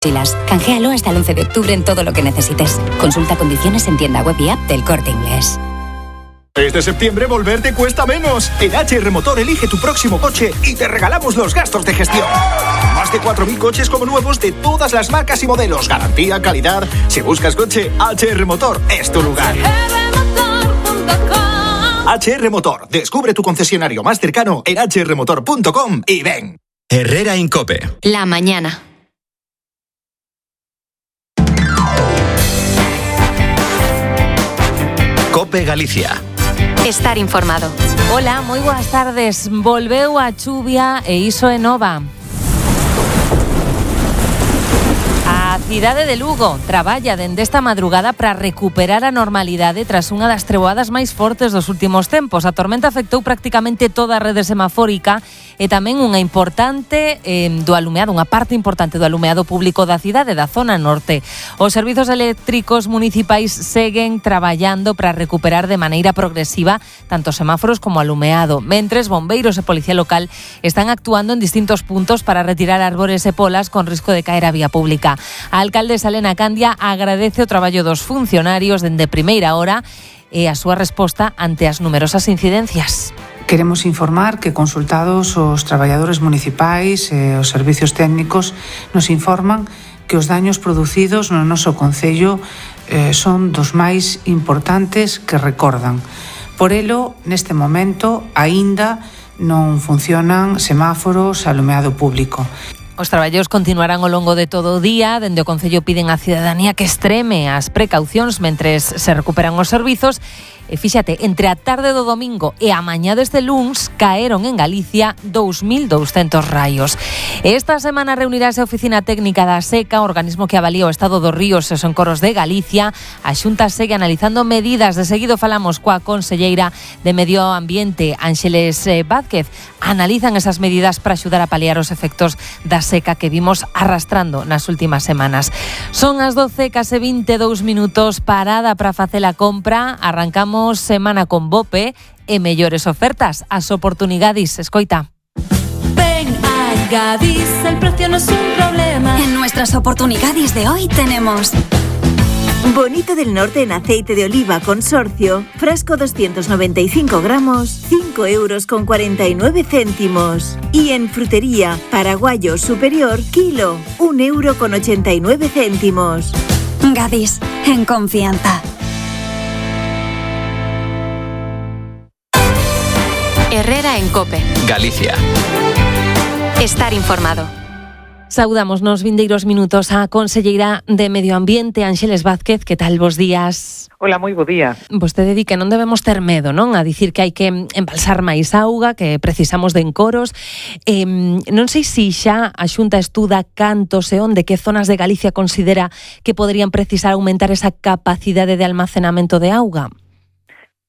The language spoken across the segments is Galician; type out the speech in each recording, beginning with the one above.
Mochilas. Canjealo hasta el 11 de octubre en todo lo que necesites. Consulta condiciones en tienda web y app del Corte Inglés. Este septiembre volver te cuesta menos. En HR Motor elige tu próximo coche y te regalamos los gastos de gestión. Más de 4.000 coches como nuevos de todas las marcas y modelos. Garantía, calidad. Si buscas coche, HR Motor es tu lugar. HR Motor. Descubre tu concesionario más cercano en hrmotor.com y ven. Herrera en COPE. La mañana. COPE Galicia. Estar informado. Hola, moi boas tardes. Volveu a chuvia e iso é nova. A cidade de Lugo traballa dende esta madrugada para recuperar a normalidade tras unha das treboadas máis fortes dos últimos tempos. A tormenta afectou prácticamente toda a rede semafórica e tamén unha parte importante do alumeado público da cidade, da zona norte. Os servizos eléctricos municipais seguen traballando para recuperar de maneira progresiva tanto semáforos como alumeado, mentres bombeiros e policía local están actuando en distintos puntos para retirar árbores e polas con risco de caer á vía pública. A alcaldesa Elena Candia agradece o traballo dos funcionarios dende primeira hora e a súa resposta ante as numerosas incidencias. Queremos informar que consultados os traballadores municipais e os servicios técnicos nos informan que os daños producidos no noso concello son dos máis importantes que recordan. Por elo, neste momento, aínda non funcionan semáforos, alumeado público. Os traballos continuarán ao longo de todo o día. Dende o Concello piden á cidadanía que extreme as precaucións mentres se recuperan os servizos. E fíxate, entre a tarde do domingo e a mañá deste luns caeron en Galicia 2.200 raios. Esta semana reunirase a Oficina Técnica da Seca, organismo que avalía o estado dos ríos e os encoros de Galicia. A Xunta segue analizando medidas. De seguido falamos coa conselleira de Medio Ambiente, Ángeles Vázquez. Analizan esas medidas para axudar a paliar os efectos da seca que vimos arrastrando nas últimas semanas. Son as 12:22, parada para facer a compra. Arrancamos semana con Bope e mellores ofertas. As oportunidades, escoita. Ven a Gadis, el precio no es un problema. En nuestras oportunidades de hoy tenemos Bonito del Norte en aceite de oliva consorcio, frasco 295 gramos, 5,49 €. Y en frutería, paraguayo superior, kilo, 1,89 €. Gadis, en confianza. Herrera en COPE. Galicia. Estar informado. Saudamos nos vindeiros minutos a conselleira de Medio Ambiente, Ángeles Vázquez. Que tal, bos días? Hola, moi bo día. Vostede di que non debemos ter medo, non? A dicir que hai que embalsar máis auga, que precisamos de encoros. Non sei se xa a Xunta estuda cantos e onde, que zonas de Galicia considera que poderían precisar aumentar esa capacidade de almacenamento de auga.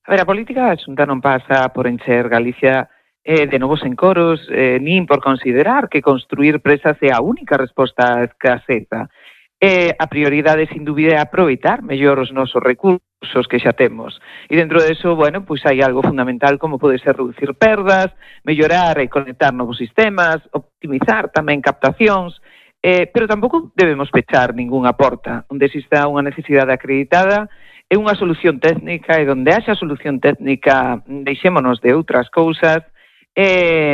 A ver, a política da Xunta non pasa por encher Galicia de novos encoros, nin por considerar que construir presas é a única resposta á escaseza. A prioridade, sin dúbida, é aproveitar mellor os nosos recursos que xa temos. E dentro deso, bueno, pois hai algo fundamental como pode ser reducir perdas, mellorar e conectar novos sistemas, optimizar tamén captacións, pero tampouco debemos pechar ningunha porta. Onde exista unha necesidade acreditada, é unha solución técnica, e onde haxa solución técnica, deixémonos de outras cousas,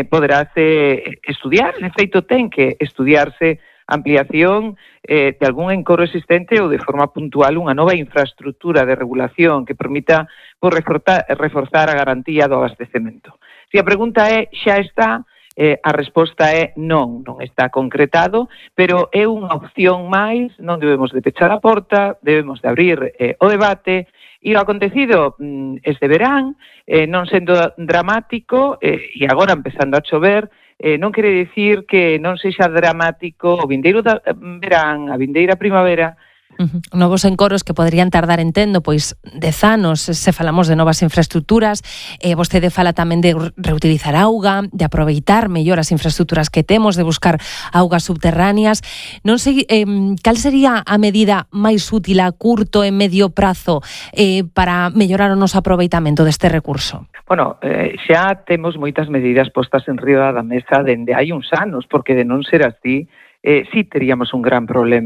poderase estudiar. En efeito, ten que estudiarse ampliación de algún encoro existente ou de forma puntual unha nova infraestructura de regulación que permita reforzar a garantía do abastecemento. Se a pregunta é, xa está, a resposta é non está concretado, pero é unha opción máis. Non debemos de pechar a porta, debemos de abrir o debate. E o acontecido este verán, non sendo dramático, e agora empezando a chover, non quere dicir que non sexa dramático o vindeiro verán, a vindeira primavera. Novos encoros que poderían tardar, entendo, pois 10 anos se falamos de novas infraestructuras. Vostede fala tamén de reutilizar auga, de aproveitar mellor as infraestructuras que temos, de buscar augas subterráneas. Non sei, cal sería a medida máis útil a curto e medio prazo para mellorar o noso aproveitamento deste recurso? Bueno, xa temos moitas medidas postas en riba da mesa dende hai uns anos, porque de non ser así, sí teríamos un gran problema.